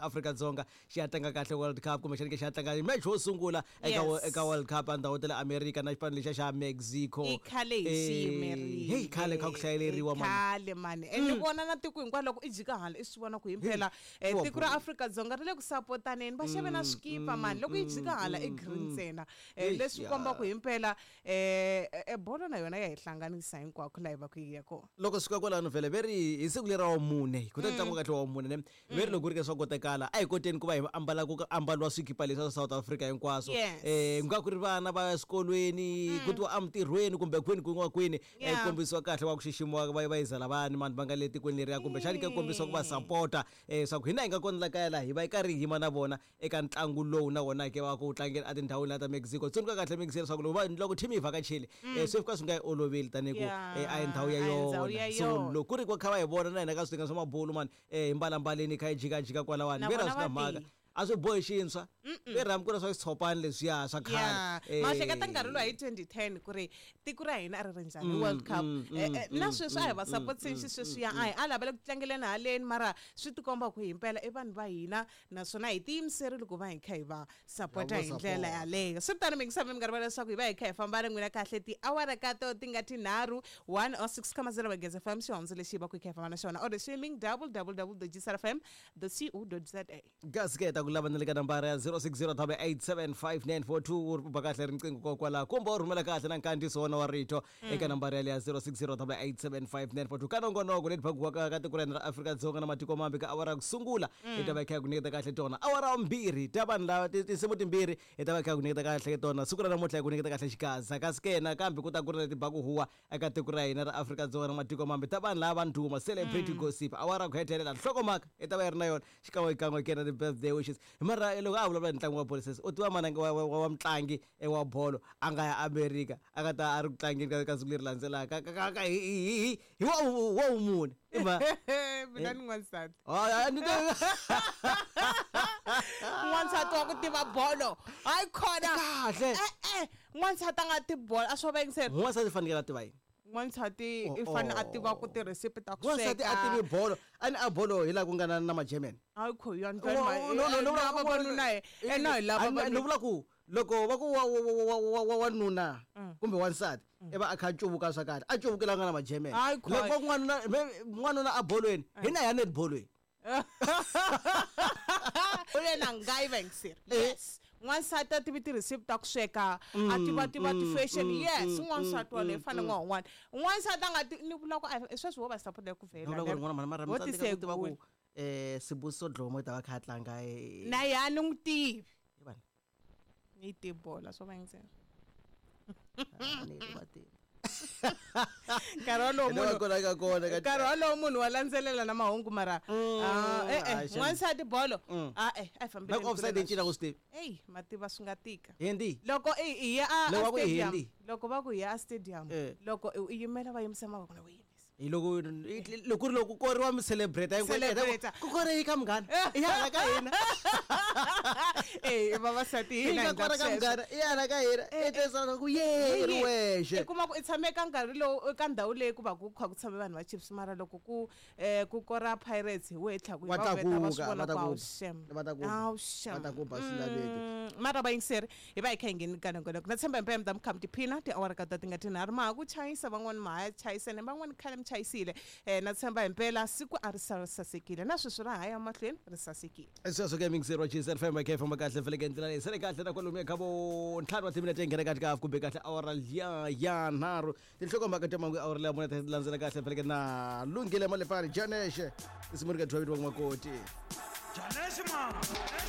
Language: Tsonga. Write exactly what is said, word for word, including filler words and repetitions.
Afrika-Dzonga xi ya tlanga kahle World Cup kumbexani ke xi ya tlanga match wo sungula eka Yes. eka World Cup andhawu ta le America na xipano lexiya xa Mexico. I khale hi xi Eh, yimerile. Hey, khale kha ku hlayeleriwa I mani. Khale mani. And ni vona na tiko hinkwaro loko i jika hala i swi vona ku himpela eh, Wa tiko ra bolo. Afrika-Dzonga ri le ku sapotaneni, va xave na swikipa mani. Loko yi jika hala i green ntsena. Eh, Eish, leswi ya. komba ku himpela eh eh, bolo na yona ya hi hlanganisa hinkwako laha hi va ku yi ya kona. Loko swi fika kwalano vhele ve ri hi siku leri ra wa mune ku ta tlangiwa kahle wa mune ne ve ri loko ku ri ke swa kotekala a hi koteni ku va hi ambala ku ambaliwa swikipa leswi swa South Africa hinkwaswo. Yes. Eh ku nga ku ri vana va eswikolweni ku tiwa emintirhweni kumbe kwini kun'wana kwini eh, Yeah. kombisiwa kahle wa ku xiximiwa va va yizela vani mani va nga le tikweni leriya kumbexani ke kombisiwa ku va sapota eh swa ku hina hi nga kona la kaya laha hi va hi karhi hi yima na vona eka ntlangu lowu na wona ke va ku tlangela etindhawini la ta Mexico. Tsundzuka kahle Mexico leswaku loko va- loko team yi vhakachile eh swi fika swi nga yi oloveli tanihi ku Yeah, eh, a hi ndhawu ya a hi ndhawu yona ya so yona. loko ku ri ku kha va hi vona na hina ka switanga swa mabulu mani eh hi mbalambaleni hi kha hi jikajika kwalawani Na ve ra vona swi na va mhaka ti. A swi bohi xintshwa ve ri hambi ku ri swa xitshopani leswiya swa Yeah. khale. Ma hleketa nkarhi lowu hi twenty ten ku ri tiko ra hina a ri ri njhani World Cup. Eh, eh, na sweswi a hi va sapoteni xisweswiya a hi a lavela ku tlangeleni haleni mara swi tikomba ku himpela i vanhu va hina naswona hi tiyimiserile ku va hi kha hi va sapota Va hi ndlela support. yaleyo. Swi tano mi ngisami mi nga rivala leswaku hi va hi kha hi famba na n'wina kahle tiawara ka to ti nga tinharhu one oh six comma zero Magezi F M xihondzo lexi hi va ku hi kha hi famba na xona or streaming double double double dot G S F M dot co dot za. Kasi ke ta ku lava na le ka nambara ya zero six zero double eight seven five nine four two u ri ba kahle riqingho kokwalaho kumbe u rhumela kahle na nkandziyiso wona wa rito eka nambara yaleyo ya zero six zero double eight seven five nine four two. Ka nongonoko leti phakiwaka ka tiko ra hina ra Afrika-Dzonga na matiko mambe ka awara ya ku sungula hi ta va hi kha hi ku nyiketa kahle tona awara ya vumbirhi ta vanhu lava ti- tinsimu timbirhi hi ta va hi kha hi ku nyiketa kahle tona siku ra namuntlha hi ku nyiketa kahle xigaza kasi ke nakambe ku ta ku ri na tibaku huwa eka tiko ra hina ra Afrika-Dzonga na matiko mambe ta vanhu lava va ndhuma celebrity gossip awara ya ku hetelela nhlokomhaka hi ta va yi ri na yona xikan'wekan'we ke na ti-birthday wishes hi mara loko a vulavula hi ntlangu wa bolo sesi u tiva mananga wa, wa, wa mutlangi eh, wa bolo a nga ya Amerika a nga ta a ri ku tlangeni ka ka siku leri landzelaka ka- ka- ka- hi hi hi hi wa wa wumune i ma Mina ni n'wansati. Ah, ah, ni ta- N'wansati wa ku tiva bolo hayi khona. Kahle. Eh, eh, n'wansati a nga tivi bolo a swo va yingisela. N'wansati fanekele a tiva yini? N'wansati Oh, i fanele a oh. tiva ku tirhesipi ta ku N'wansati a tivi bolo a ni a bolo hi laha ku nga na na magerman. Hayi kho yo Oh, no, no, no, vavanuna hi ena hi lava Ni vanuna. vula ku loko va ku wa- wa- wa- wa- wa- wanuna kumbe wansati i va a kha a cuvuka swa kahle a cuvukela nga na magerman. Hayi kho. Loko va ku n'wanuna me- n'wanuna a bolweni hi na ya net bolweni. U le na ngai va yingiseri. Eh. Yes, n'wansati a tivi tirhesipi ta ku sweka a tiva tiva ti-fashion. Yes, n'wansati waleyo i fanele n'wa un'wana n'wansati a nga ti ni vula ku a- sweswi wo va sapota ku Ni vula ku ri n'wana mhani mara Vo mi tsandzeka ku tiva ku tisegula. eh Sibusiso Dlomo i ta va kha a tlanga eh, Na ya ni n'wi tivi. hi vanhu. Ni tivi bola swo va yingisela. Ah, ni va tivi. Nkarhi wolowo Hi la va munhu kona ka kona ka- nkarhi wolowo munhu wa landzelela na mahungu mara ah, eh, eh, ah, xana. n'wansati bolo Mm. a eh a hi Na fambeleni ku offside kule yi na cinca ku swi tivi. Eyi mativa swi nga tika. Hindi. Loko i i ya a Loko a va ku i stadium Hindi. loko va ku hi ya a stadium Eh. loko i i yimela va yimisa mavoko na u yimisa. Hi loko loko ku ri loko ku koriwa mi celebrate Celebrate. ku kore yi ka munghana i ya hala ka hina. Eh vavasati Yi hina nga hi kora endla ka sweswo. munghana i ya hala ka hina i tesa ku ye ri wexe. I kuma ku i tshame ka nkarhi lowu ka ndhawu leyi ku va ku kha ku tshame vanhu va Chiefs mara loko ku eh ku kora Pirates hi wehe tlhaku Va va veta va swi tlakuka, vona va ta ku ku awu ba. shem. Va ta ku ba. Awu shem. Va ta ku ba swi laveki. Mm, mara vayingiseri hi va hi kha hi ngheni ka nongonoko na tshemba himpela mi ta mi kha mi tiphina tiawara ka ta ti nga tinharhu ma ha ku chayisa van'wani ma ha chayisene van'wani khale mi chayisile um na tshemba himpela siku a ri sa ri sasekile na sweswi ra ha ya mahlweni ri sasekile. Sweswo ke mixer wa G S F M khe famba kahle feleke ndlela leyi sele kahle na kwalomuya ka vo ntlhanu wa timinete yi nghena kahle ka half kumbe kahle awara liya ya nharhu tinhlokomhaka ta mangu awara leya mune ta landzela kahle feleke na lunghile malepani janexe isimu ri ka dyiwa vitiwa makoti. Janesh man.